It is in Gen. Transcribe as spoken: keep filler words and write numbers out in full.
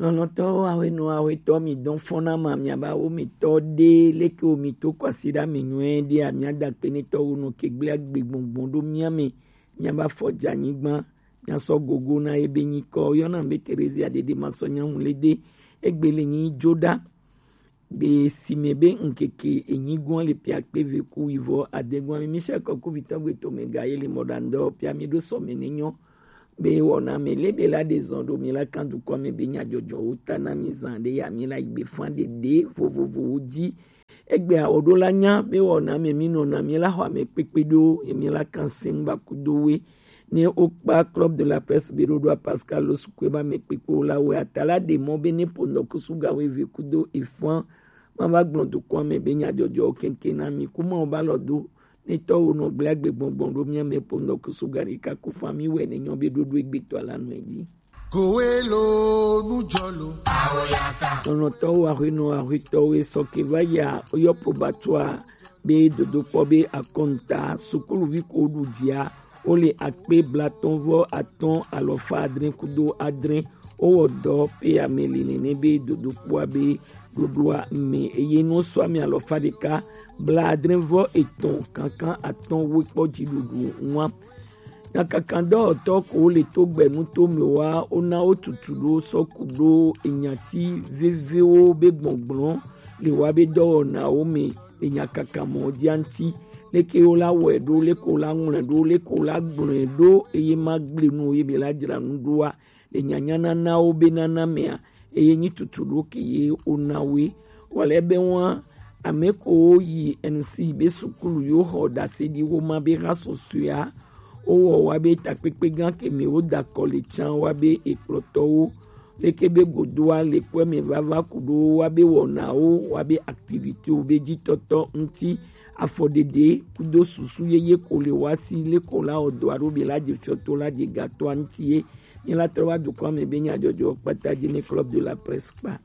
Lɔlɔ̃tɔwo, ahwenɔ, ahwetɔ, mi dɔn fɔna ma, miaba wo mi tɔ ɖe, leke wo mi to kwasiɖa mi nyuie ɖe, a mia da kpe ne tɔwo nɔ ke gblẽ agbe gbɔngbɔn ɖo mia me, miaba fɔ dze anyigba, miasɔ gogo na ebe nyikɔ, yɔna be Terezia ɖeɖe ma sɔ nyamu le de, egbe le nyi jo ɖa. Be si me be ŋkeke enyigoa le pia kpe ve ku wivɔ adegua mi, Michel Kɔkuvitɔ gbe to me ga ye le mɔɖaŋdɔ pia mi ɖo sɔ me ne nyɔ. Be wɔna me le be la ɖe zɔn ɖo mi la kan dukɔ me be nyadzɔdzɔwo ta na mi zan ɖe ya mi la yi gbe fan ɖeɖe vovovowo dzi. Egbe awo ɖo la nya be wɔna me mi nɔna mi la xɔ ame kpekpe ɖo ye mi la kan se ŋgba kudo we. Ne wokpa Club de la Presse be ɖoɖoa Pascal Losukue ba me kpekpe wo la we ata la ɖe mɔ be ne ponɔ kusuga we ve kudo efan ma va gblɔ dukɔa me be nyadzɔdzɔwo kɛnkɛn na mi kuma wo ba lɔ do ne tɔwo nɔ gblẽ agbe gbɔngbɔn ɖo mia me ponɔ kusuga ɖeka ku fan mi wɛ ne nyɔ be ɖoɖo egbetɔ la nɔ edzi. Kowelo nujɔlo. Awoyaka. Lɔlɔ̃tɔwo, ahwenɔ, ahwetɔwo, esɔ ke va ya, oyɔ probatoire be dodokpɔ be akɔnta, sukuluvi ko ɖu dzia, wole akpe blatɔ̃ vɔ atɔ̃ alɔfa adre kudo adre. Wowɔ dɔ pe ame li nene be dodokpɔa be ɖoɖoa me, eye nu sɔ ame alɔfa ɖeka bla adre vɔ etɔ̃ kankan atɔ̃ we kpɔ dziɖuɖu ŋua. Nyakakadɔwɔtɔ ko le to gbɛnu to me wa, wona wo tutu ɖo sɔ ku ɖo enyati vevewo be gbɔgblɔ le wa be dɔwɔnawo me le nyakaka mɔ dia ŋuti. Leke wo la wɔe ɖo, leke wo la ŋlɔe ɖo, leke wo la gblɔe ɖo, eye ma gblẽ nu ye be la dzra nu ɖoa, le nyanyananawo be nana mea, eye nyi tutu ɖo ke ye wona woe. Wale be wa ame ko yi N C be sukulu yo xɔ ɖase ɖi wo ma be ha sɔsɔea, wowɔ wa be takpekpe gã ke me wo da kɔ le tsan wa be ekplɔtɔwo leke be godoa le kɔe me vava ku ɖo wa be wɔnawo wa be activité wo be dzi tɔtɔ ŋuti. Afɔɖeɖe kudo susu yeye ko le wa si le ko la o do alo be la dze fiɔto la dze gatɔa ŋuti ye. Nye la trɔ wa dukɔa me be nyadzɔdzɔ kpata dzi ne Club de la Presse kpa.